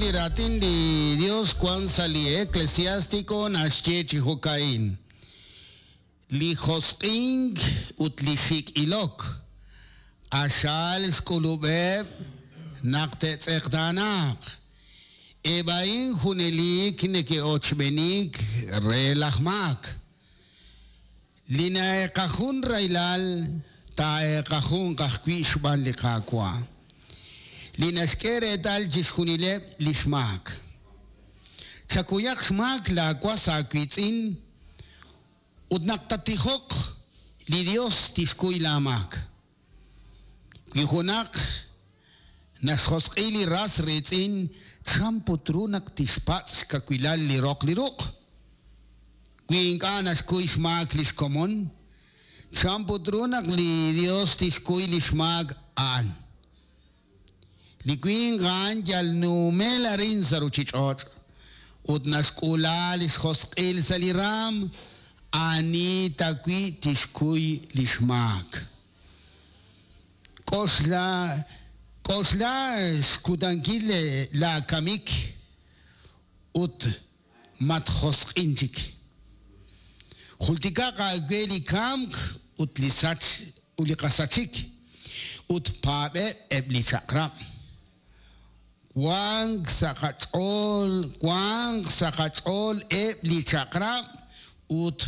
Li Raatin li Yos wank sa' li Eclesiástico naxye chi jo'ka'in, Li josq'ink ut li xik' ilok, q'axal xk'ulub'eb' naq te'tz'eqtaanaaq. Eb' a'in junelik neke'ochb'enik re laj maak. Li na'eeqajun rahilal, taa'eeqajunq ajwi' xb'aan li Qaawa', li naxk'e reetal chixjunileb' li xmaak. Chakuyaq xmaak laawas aawiitz'in, ut naq tattijoq, li Yos tixkuy laamaak. Wi junaq naxjosq'i li ras riitz'in, chan put ru naq tixpatz' xkawilal li roq li ruq'? Wi ink'a' naxkuy xmaak li xkomon, chan put ru naq li Yos tixkuy li xmaak a'an? Li winq a'an yal nuumel arin sa' ruuchich'och' ut naxk'uula li xjosq'il sa' li raanm, ani tawi' tixkuy li xmaak? K'oxla, k'oxla xkutankil laakamik ut matjosq'in chik. Jultikaq aawe li kamk ut li sach ut li qasachik, ut paab'eb' eb' li chaq'rab'. Wank sa' qach'ool, wanq sa' qach'ool eb' li chaq'rab' ut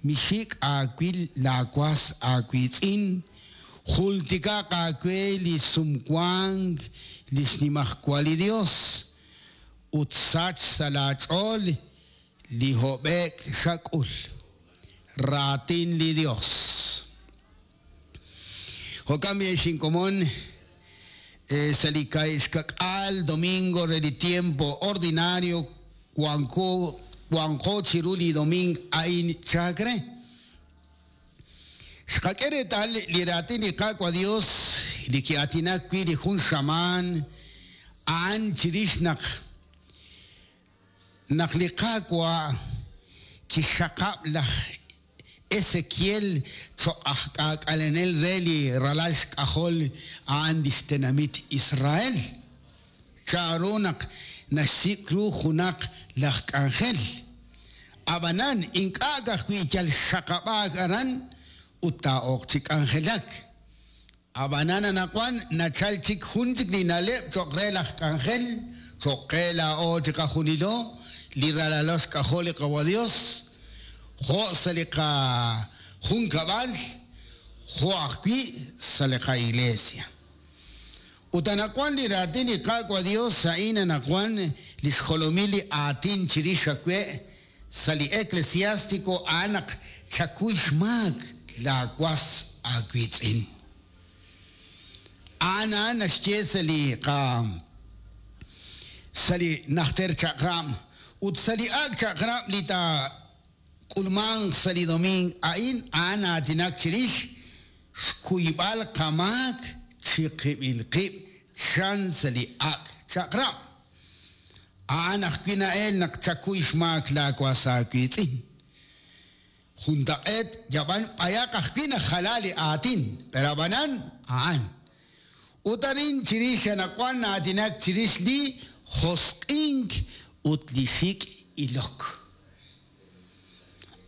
mixik' aawil laawas aawiitz'in, jultikaq aawe li sumwank li xnimajwal li Yos. Ut sach sa' laach'ool li hob'e'k xak'ul. Raatin li Yos. Jo'kan b'i' ex inkomon, sa' li kaahib' domingo re li tiempo ordinario wanko wanqo chiru li doming a'in chalk re. Xqak'e reetal li raatin li Qaawa' Dios li ki'aatinak wi' li jun xamaan a'an chirix naq naq li Qaawa' kixxaqab' laj Esekiel choq' aj k'aak'alenel re li ralal xk'ajol a'an lix tenamit Israel. Chanru naq naxsik' ru junaq laj k'anjel. Ab'anan, ink'a' ka'ajwi' yal xxaqab'aak aran ut taa'ok chi k'anjelak. Ab'anan anaqwan nachalk chik jun chik li na'leb' cho'q re laj k'anjel, cho'q qe laa'o chiqajunilo, li ralalo xk'ajol li Qawa' Yos, jo' sa' li qajunkab'al jo' ajwi' sa' li qa'iglesia. Ut anaqwan li raatin li Qaawa' Dios a'in anaqwan li xjolomil li aatin chirix awe' sa' li Eclesiástico a'an naq chakuy xmaak laa was aawiitz'in. A'an a'an naxye sa' li qa sa' li Najter Chaq'rab' ut sa' li Ak' Chaq'rab' li taak'ulmanq sa' li doming a'in a'an aatinak chirix Xkuyb'al qamaak chiqib'il qib' chan sa' li Ak' Chaq'rab'. A'an ajwi' na'el naq chakuy xmaak laawas aawiitz'in. Juntaq'eet yab'an b'ayaq ajwi' najala li aatin, pero ab'anan a'an. Ut arin chirix anaqwan na'aatinak chirix li josq'ink ut li xik' ilok.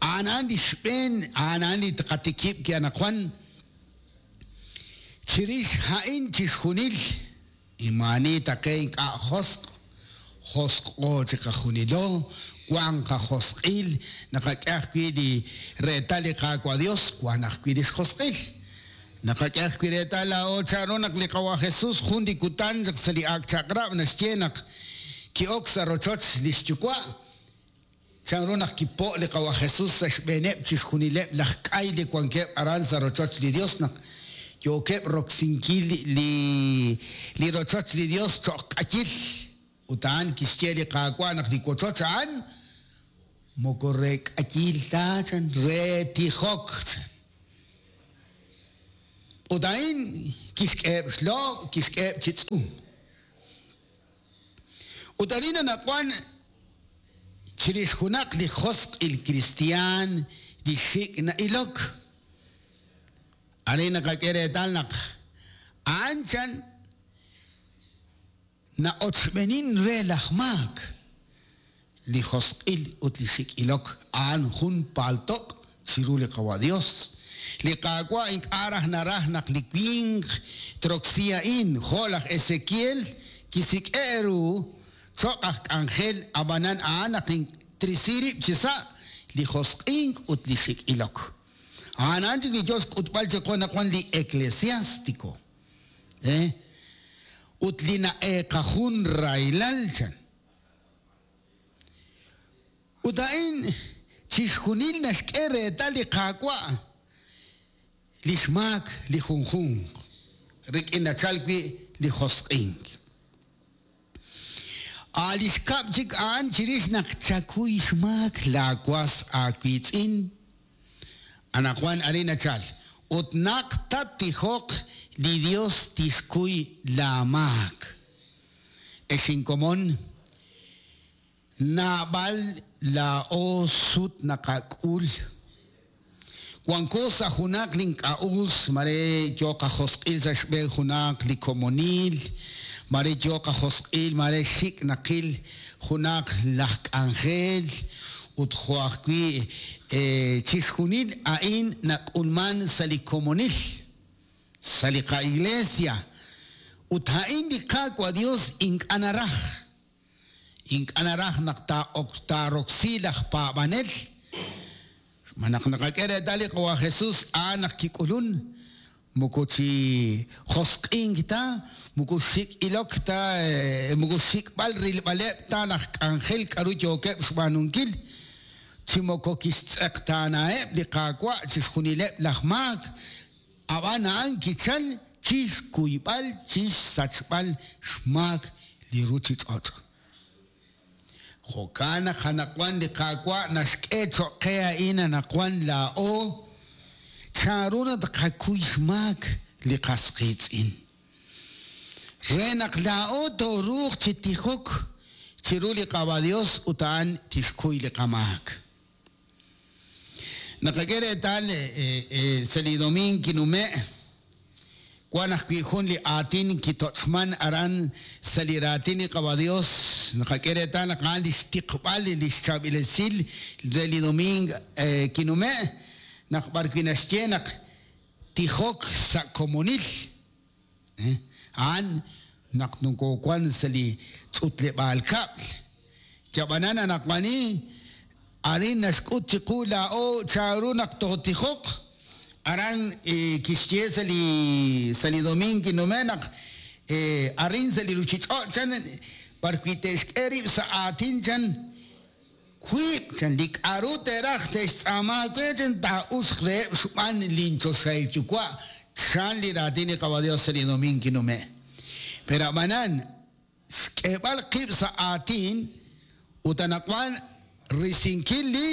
A'an a'an li xb'een, a'an a'an li tqatikib' wi' anaqwan. Chirix a'in chixjunil, maa'ani taqe ink'a' josq', josq'o chiqajunilo, wank qajosq'il, naqak'e ajwi' li reetal li Qaawa' Dios, wank ajwi' li xjosq'il. Naqak'e ajwi' reetal laa'o chanru naq li Qawa' Jesus jun li kutan chaq sa' li Ak' Chaq'rab' naxye naq ki'ok sa' rochoch li xyuwa', Chanru naq kipo' li Qawa' Jesus sa' xb'eeneb' chixjunileb' laj k'ay li wankeb' aran sa' rochoch li Yos naq yookeb' roksinkil li li rochoch li Yos cho'q k'ayil? Ut a'an kixye li Qaawa' naq li wochoch a'an moko re k'ayil ta, chan, re tijok, chan. Ut a'in kixk'eheb' xlob', kixk'eheb' chi tz'um. Ut arin anaqwan chirix junaq li josq'il kristi'aan li xik' na'ilok. Arin naqak'e reetal naq a'an chan Na'ochb'eenin re laj maak. Li josq'il ut li xik' ilok a'an jun palto'k chiru li Qawa' Dios. Li Qaawa' ink'a' raj naraj naq li winq troksi a'in, jo' laj Ezekiel kisik'e' ru cho'q aj k'anjel, ab'anan a'an naq trisi rib' chi sa' li josq'ink ut li xik' ilok. A'an a'an chik li yoo xk'utb'al chiqu anaqwan li Eclesiástico. Ut li na'eeqajun rahilal, chan. Ut a'in chixjunil naxk'e reetal li Qaawa' li xmaak li junjunq, rik'in nachalk wi' li josq'ink. A' li xkab' chik a'an chirix naq chakuy xmaak laawas aawiitz'in. Anaqwan arin nachal, ut naq tattijoq, li Yos tixkuy laamaak. Ex inkomon, naab'al laa'o sut naqak'ul. Wanko sa' junaq li ink'a' us, mare yoo qajosq'il sa' xb'een junaq li komonil, mare yoo qajosq'il, mare xik' naqil junaq laj k'anjel, ut jo' ajwi' chixjunil a'in nak'ulman sa' li komonil, sa' li qa-iglesia, ut a'in li Qaawa' Dios ink'a' naraj. Ink'a' naraj naq taaroksi laj paab'anel. Xb'aan naq naqak'e reetal li Qawa' Jesus a'an naq kik'ulun, moko chi josq'ink ta, moko xik' ilok ta, moko xsik'b'al rilb'aleb' ta laj k'anjel k'aru yookeb' xb'aanunkil, chi moko kixtz'eqtaanaheb' li Qaawa' chixjunileb' laj maak, Ab'an a'an kichal chi xkuyb'al chi xsachb'al xmaak li ruuchich'och'. Jo'kan naq anaqwan li Qaawa' naxk'e cho'q qe a'in anaqwan laa'o, chanru naq tqakuy xmaak li qas qiitz'in. Re naq laa'o tooruuq chi tijok chiru li Qaawa' Yos ut a'an tixkuy li qamaak. Naqak'e reetal sa' li domiing kinume', wan ajwi' jun li aatin kitoch'man aran sa' li raatin li Qawa' Dios. Naqak'e reetal naq a'an lix tiqb'al lix chaab'il esil re li domiing kinume', naq b'ar wi' naxye naq tijok sa' komonil, a'an naq nokowan sa' li ch'utleb'aal kab'l. Yab'anan anaqwani, arin naxk'ut chiqu laa'o chanru naq tootijoq. Aran kixye sa' li sa' li domiing kinume' naq arin sa' li ruchich'och' chan b'ar wi' te'xk'e rib' sa' aatin chan Wiib', chan, li k'a'ru te'raj te'xtz'aama aawe, chan, taa'uxq reheb' xb'aan lin Choxahil Yuwa', chan li raatin li Qawa' Dios sa' li domiing kinume'. Pero a'b'anan, xk'eeb'al qib' sa' aatin ut anaqwan risinkil li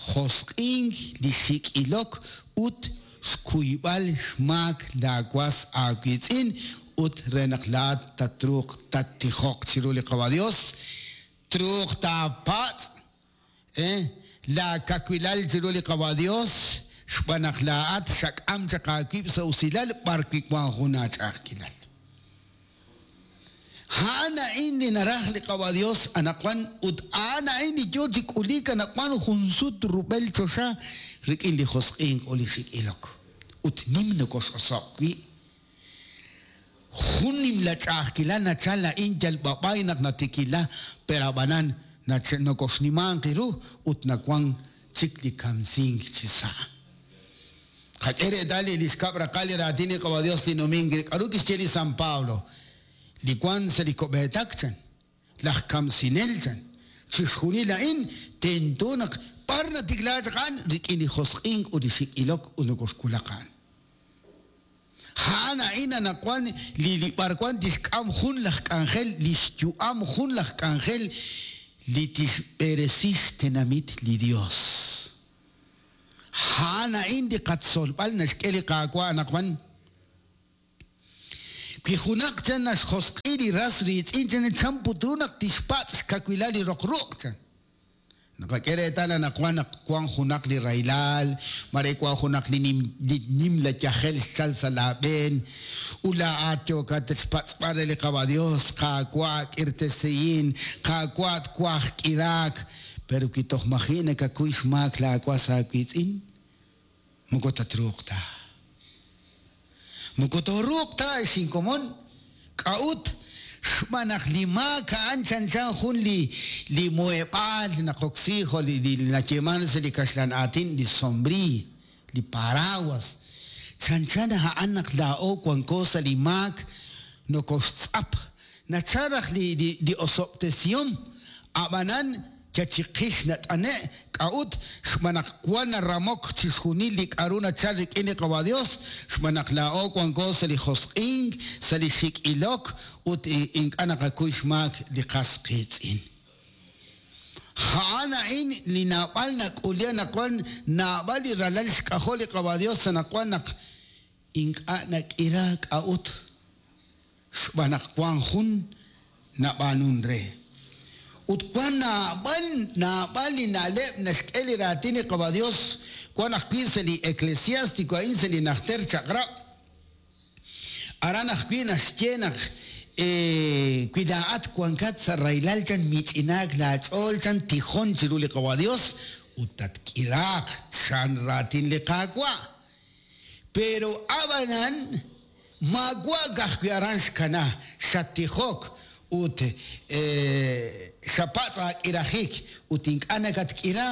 josq'ink, li xik' ilok ut xkuyb'al xmaak laa was aawiitz'in ut re naq laa'at tatruuq tattijoq chiru li Qawa' Dios, Truuq taapatz' laakawilal chiru li Qawa' Yos, xb'aan naq laa'at xak'am chaq aawib' sa' usilal b'arwi' wank jun aach'a'ajkilal. A'an a'in li naraj li Qawa' Yos anaqwan ut a'an a'in li yo chi k'uliik anaqwan junsut rub'el choxa rik'in li josq'ink ut li xik' ilok, ut nim nokox'oso'k wi'. Jun nimla ch'a'ajkilal nachal a'in yal b'ab'ay naq natikila, pero ab'anan nokoxnimanq ru ut nawan chik li kamsink chi sa'. Qak'e reetal li xkab' raqal li raatin li Qawa' Dios li numink re k'a'ru kixye li San Pablo, li wan sa' li ko'b'eetak chan, laj kamsinel chan. Chixjunil a'in tento naq b'ar natikla chaq a'an rik'in li josq'ink ut li xik' ilok ut nokoxwulaq a'an. A'an a'in anaqwan li li b'arwan tixk'am jun laj k'anjel li xyu'am jun laj k'anjel li tixb'eresi xtenamit li Dios. A'an a'in li qatzolb'al naxk'e li Qaawa' anaqwan. Wi junaq chan naxjosq'i li ras riitz'in chan chan put ru naq tixpatz' xkawilal li roq ruq' chan. Naqak'e reetal anaqwan naq wank junaq li rahilal, mare wank junaq li nimla yajel xchalk sa' laab'een, ut laa'at yookat xpatz'b'al re li Qawa' Yos, Qaawa', k'irtesihin, Qaawa', twaj k'iraak. Pero wi toj maji' nakakuy xmaak laawas aawiitz'in, moko tatruuq ta. Moko tooruuq ta, ex inkomon. K'a'ut? Xb'aan naq li maak a'an chanchan jun li li muheb'aal naqoksi jo' li li nayeeman sa' li kaxlan aatin li sombriiy, li paraguas. Chanchan a'an naq laa'o wanko sa' li maak nokoxtz'ap. Nachal raj li li li osob'tesihom, a'b'anan Yal chiqix nat'ane'. K'a'ut? Xb'aan naq wan naramok chixjunil li k'a'ru nachal rik'in li Qawa' Dios, xb'aan naq laa'o wanko sa' li josq'ink, sa' li xik' ilok, ut ink'a' naqakuy xmaak li qas qiitz'in. A'an a'in li naab'al nak'uli anaqwan, naab'al li ralal xk'ajol li Qawa' Dios anaqwan naq ink'a' nak'ira. K'a'ut? Xb'aan naq wank jun nab'aanun re. Ut wank naab'al naab'al li na'leb' naxk'e li Raatin li Qawa' Yos, wank ajwi' sa' li Eclesiástico a'in sa' li Najter Chaq'rab'. Aran ajwi' naxye naq wi laa'at wankat sa' rahilal chan mich'inaak laach'ool chan tijon chiru li Qawa' Yos ut tatk'iraaq chan Raatin li Qaawa'. Pero ab'anan maawa' ka'ajwi' aran xkana, xattijok ut xapatz' aak'irajik ut ink'a' nakatk'ira,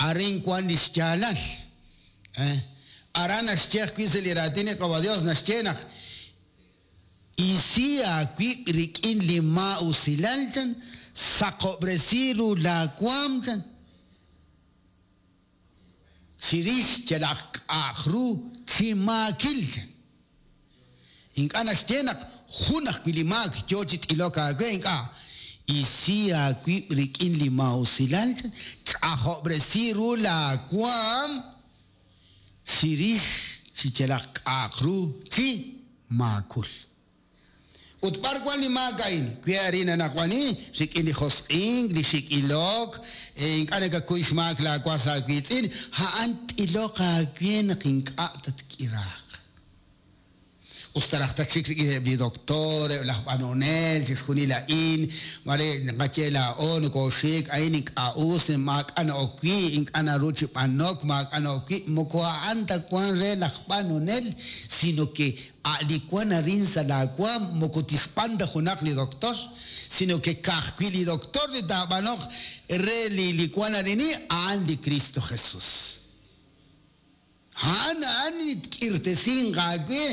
arin wank li xyaalal. Aran naxye ajwi' sa' li Raatin li Qawa' Yos naxye naq isi aawib' rik'in li maa'usilal chan, saqob'resi ru laawaanm chan. Chirix yalaq k'a'aq ru chi maakil. Ink'a' naxye naq jun ajwi' li maak yoo chi t'ilok aawe, ink'a'. Isi aawib' rik'in li maa'usilal, ch'ajob'resi ru laa waam chirix chi yalaq k'a'aq ru chi maakul. Ut b'ar wank li maak a'in? Wi arin anaqwani, rik'in li josq'ink, li xik' ilok, ink'a' nakakuy xmaak laawas aawiitz'in, a'an t'iloq aawe naq ink'a' tatk'iraaq. Us ta raj tatxik rik'in eb' li doktor, eb' laj b'anonel, chixjunil a'in, maare naqaye laa'o nokooxik, a'in ink'a' us, maak'a' na'ok wi', ink'a' naru chi b'anok, maak'a' na'ok wi', moko a'an ta wank re laj b'anonel, sino ke A' li wank arin sa' laawaanm moko tixb'an ta junaq li doktor, sino ke ka'ajwi' li doktor li taab'anoq re li li wank arini, a'an li Kristo Jesús. A'an a'an li tk'irtesinq aawe,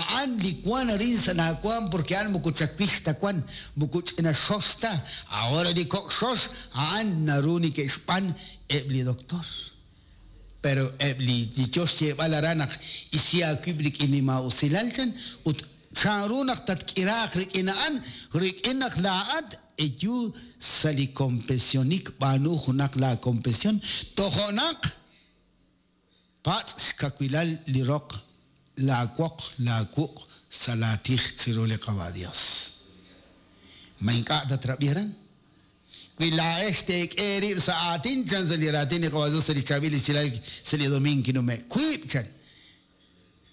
a'an li wank arin sa' laawaanm porke a'an moko chawix ta wank, moko ch'ina xox ta. Ahora li kok' xox a'an naru neke'xb'an eb' li doktor. Pero eb' li li yo xyeeb'al aran naq isi aawib' rik'in li maa'usilal chan, ut chanru naq tatk'iraaq rik'in a'an, rik'in naq laa'at eyu sa' li kompesionik b'aanu junaq laa kompesion, tojo'naq patz' xkawilal li roq laa woq laa wuq' sa' laa tij chiru li Qawa' Dios. Ma ink'a' tatrab'i aran? Wi laa'ex teek'e eerib' sa' aatin, chan sa' li raatin li Qawa' Dios sa' li chaab'il esilal sa' li domiing kinume'. Wiib', chan.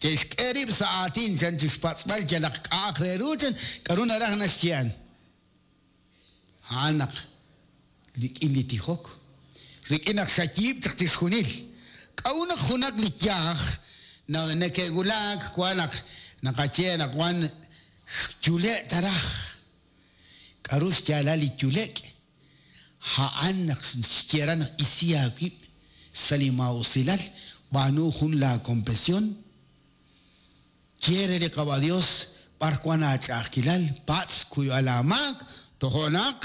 Ke'xk'e rib' sa' aatin, chan, chixpatz'b'al yalaq k'a'aq re ru, chan, k'a'ru naraj naxye a'an. A'an naq rik'in li tijok, rik'in naq xayiib' chaq chixjunil. K'a'ut naq junaq li yaj neke'wulak wan naq naqaye naq wan xyule' ta raj? K'aru xyaalal li yule'k? A'an naq xye aran naq isi aawib' sa' li maa'usilal, b'aanu jun laakompesion, ye re li Qawa' Yos b'ar wank aach'a'ajkilal, patz' xkuyb'al aamaak, tojo' naq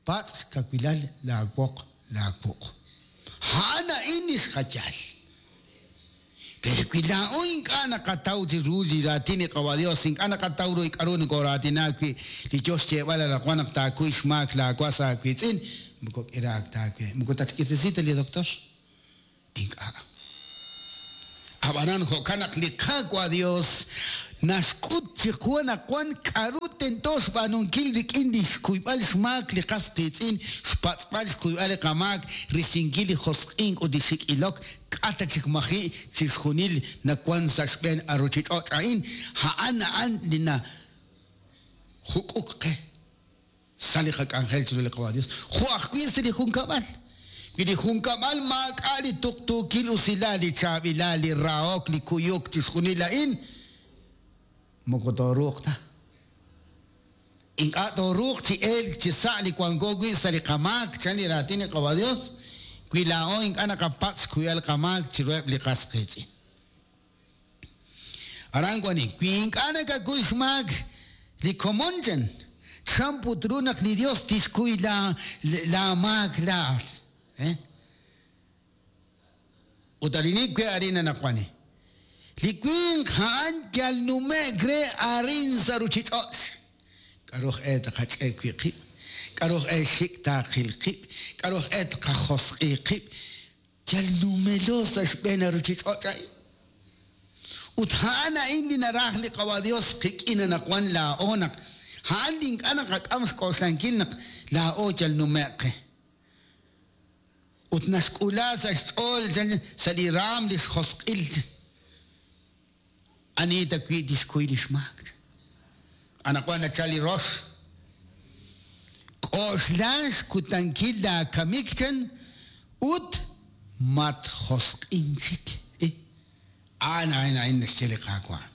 patz' xkawilal laawoq laawuq'. A'an a'in li xjayal. Pero wi laa'o ink'a' naqataw chi ru li raatin li Qawa' Dios, ink'a' naqataw ru li k'a'ru nokoraatina wi' li yoo xyeeb'al anaqwan naq taakuy xmaak laa was aawiitz'in, moko k'iraak ta aawe. Moko tatxk'irtesi ta li doctor. Ink'a'. A'b'anan jo'kan naq li Qaawa' Dios naxk'ut chiqu anaqwan k'a'ru. tento xb'aanunkil rik'in li xkuyb'al xmaak li qas qiitz'in, xpatz'b'al xkuyb'al li qamaak, risinkil li josq'ink ut li xik' ilok, k'a' ta chik maji' chixjunil nawank sa' xb'een a ruuchich'och' a'in, a'an a'an li najuk'uk qe sa' li qak'anjel chiru li Qawa' Dios, jo' ajwi' sa' li junkab'al. Wi li junkab'al maak'a' li tuqtuukil usilal, li chaab'ilal, li rahok, li kuyuk, chixjunil a'in, moko tooruuq ta. Ink'a' tooruuq chi elk chi sa' li wanko wi' sa' li qamaak, chan li raatin li Qawa' Dios, wi laa'o ink'a' naqapatz' xkuyb'al qamaak chiruheb' li qas qiitz'in. Aran wan, wi ink'a' nakakuy xmaak li komon chan, chan put ru naq li Dios tixkuy laamaak laa'at. Ut arin we arin anaqwan. Li winq a'an yal nume'k re arin sa' ruuchich'och'. K'aru aj e tqach'e wi' qib'? K'aru aj e xik' taaqil qib'? K'aru aj e tqajosq'i qib'? Yal numelo sa' xb'een a ruuchich'och' a'in. Ut a'an a'in li naraj li Qawa' Dios qik'in anaqwan laa'o naq a'an li ink'a' naqak'am xk'oxlankil naq laa'o yal nume'k qe. Ut naxk'ula sa' xch'ool sa' li raam li xjosq'il. Ani ta wi' tixkuy li xmaak. Anaqwan nachal li rox. K'oxla xkutankil laakamik chan ut matjosq'in chik. A'an a'in a'in naxye li Qaawa'.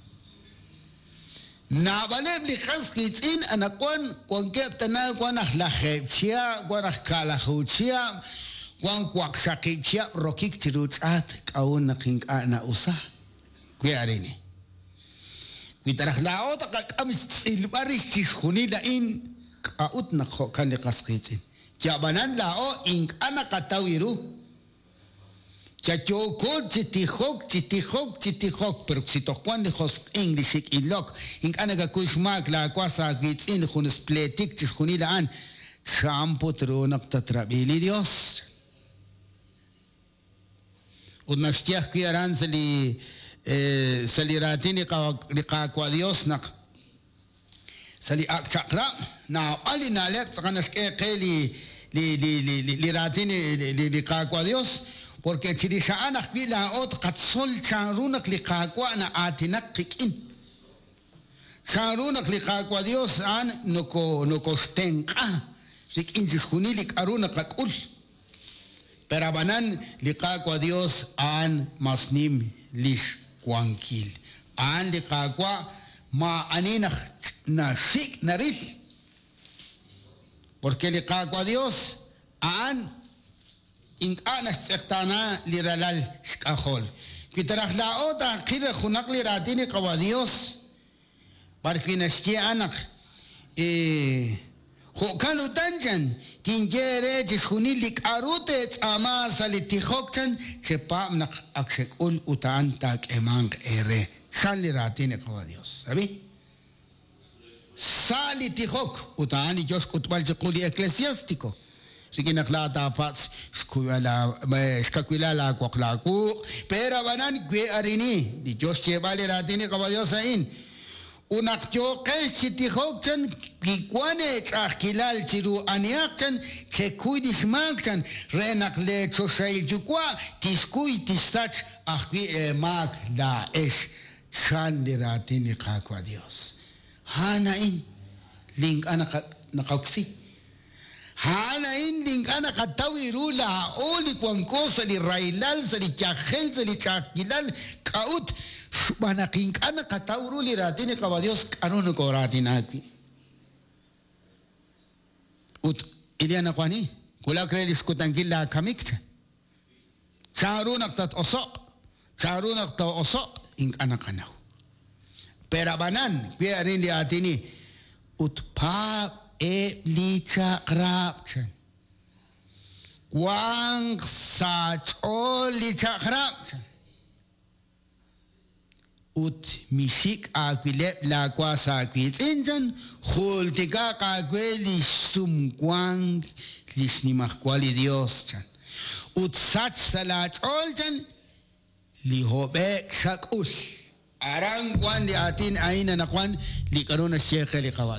Naab'aleb' li qas qiitz'in anaqwan wankeb' tana wan aj 10 chihab', wan aj 10 chihab', wan 8 chihab' rokik chiru ch'aat k'a'ut naq ink'a' na'usa. Wi arin. Wi taraj laa'o taqak'am xtz'ilb'al rix chixjunil a'in k'a'ut naq jo'kan li qas qiitz'in. Yab'anan laa'o ink'a' naqataw ru. Chayooko chi tijok, chi tijok, chi tijok, pero si toj wan li josq'ink, li xik' ilok, ink'a' nakakuy xmaak laawas aawiitz'in junes pleetik chixjunil a'an, chan put ru naq tatrab'i li Dios. Ut naxye ajwi' aran sa' li sa' li raatin li Qaawa' Dios naq sa' li ak' chaq'rab' naab'al li na'leb' tz'aqal naxk'e qe li li li li li raatin li Qaawa' Dios, porque chirix a'an ajwi' laa'o tqatzol chanru naq li Qaawa' na'aatinak qik'in. Chanru naq li Qaawa' Dios a'an noko nokoxtenq'a rik'in chixjunil li k'aru naqak'ul. Pero ab'anan li Qaawa' Dios a'an mas nim lix wankil. A'an li Qaawa' maa'ani naq naxik' naril. Porque li Qaawa' Dios a'an ink'a' naxtz'eqtaana li ralal xk'ajol. Wi taraj laa'o taaqil junaq li raatin li Qawa' Dios, b'ar wi' naxye a'an naq jo'kan utan chan, tinye eere chixjunil li k'aru teetz'aama sa' li tijok chan, chepaab' naq ak xek'ul ut a'an taak'eemanq eere. Chan li raatin li Qawa' Dios. Sabi? Sa' li tijok ut a'an li yo xk'utb'al chiqu li Eclesiástico. Rik'in naq laa taapatz' xkawilal laawoq laawuq', pero ab'anan wi arini li yo xyeeb'al li raatin li Qawa' Dios a'in. Ut naq yooqex chi tijok chan, wi wan eech'a'ajkilal chiru anihaq chan, chekuy li xmaak chan, re naq leechoxahil yuwa' tixkuy tixsach ajwi' eemaak laa'ex. Chan li raatin li Qaawa' Dios. A'an a'in li ink'a' naqoksi. A'an a'in li ink'a' naqataw ru laa'o li wanko sa' li rahilal, sa' li yajel, sa' li ch'a'ajkilal, k'a'ut xb'aan naq ink'a' naqataw ru li raatin li Qawa' Dios k'aru nokooraatina wi'. Ut ili anaqwani, wulak re li xkutankil laakamik chan. Chanru naq tat-oso'q, chanru naq too'oso'q, ink'a' naqanaw. Pero ab'anan, wi arin li aatini, ut paab' eb' li chaq'rab' chan. Wanq sa' ch'ool li chaq'rab' chan. Ut mixik' aawileb' laawas aawiitz'in chan, jultikaq aawe li xsumwank li xnimajwal li Dios chan. Ut sach sa' laach'ool chan li hob'e'k xak'ul. Aran wan li aatin a'in anaqwan li k'aru naxye qe li Qawa'